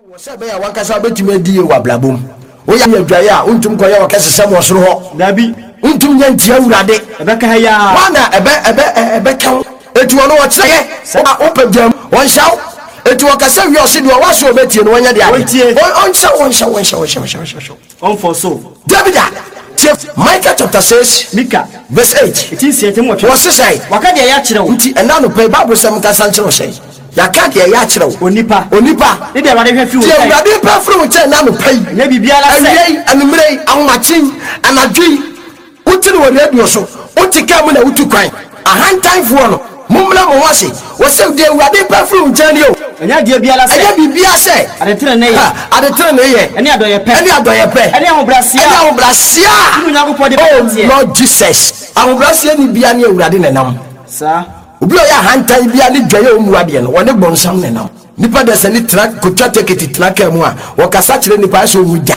Wɔ sɛ ɛbɛyɛ a w'ankasa wobɛtumi adi yie wɔ abrabɔ mu. Woyɛ adwaeɛ a, wontumi nkɔyɛ ɔkɛsesɛm wɔ soro hɔ. Dabi. Wontumi nyɛ ntia Awurade. Ɛbɛka ha yi ara. Hwan na ɛbɛ, ɛbɛ, ɛbɛka wo? Enti ɔno ɔkyerɛ yɛ. Wo a wopɛ gya mu, ɔnhyɛ wo. Enti ɔkasa wie a, ɔse deɛ ɔwɔ aso a ɔbɛtie no, ɔnyɛ deɛ adeɛ. Ɔntie. Ɔnhyɛ wo, ɔnhyɛ wo, ɔnhyɛ wo, ɔnhyɛ wo, ɔnhyɛ wo. Ɔmfɔ so. Dabi da! Tie Micah chapter 6 Mika. verse 8. Eti 6 8. Wɔse sɛn? Waka deɛ ɛyɛ akyerɛ wo. Nti ɛnnɛ anɔpa yi Bible sɛm nkasa nkyerɛ wo sɛn? Yɛaka deɛ ɛyɛ akyerɛ wo. Onipa. Onipa. Ne deɛ Awurade hwɛ firi wo Deɛ nkyɛn. Awurade pɛ firi wo nkyɛn ɛnnɛ anɔpa yi. Ɛnyɛ biribiara sɛ. Awia yi, anwummerɛ yi, ahomakye yi, anadwo yi. Wote no wɔ radio so, wote kaa mu na wotu kwan. Ahantanfoɔ no, mommrɛ mo ho ase. Wɔse, Deɛ Awurade pɛ firi wo nkyɛn nie o. Ɛnyɛ adeɛ biara sɛ. Ɛnyɛ biribiara sɛ. Adetenenee yɛ. Ha, adetenenee yɛ. Ɛne adɔeɛpɛ. Ɛne adɔeɛpɛ. Ɛne ahobrɛaseɛ a. Ɛne ahobrɛaseɛ a. Wo ne Onyankopɔn de bɛnanteɛ. Oh Lord Jesus. Ahobrɛaseɛ ni biara ne Awurade na ɛnam. Saa. Obi a ɔyɛ ahantan biara ne dwaeɛ a ɔmmu adeɛ no, ɔne bonsam na ɛnam. Nnipa dasani tena, kɔtwa tekiti tena kaa mu a, wɔkasa kyerɛ nnipa ayɛ sɛ ɔnwu da.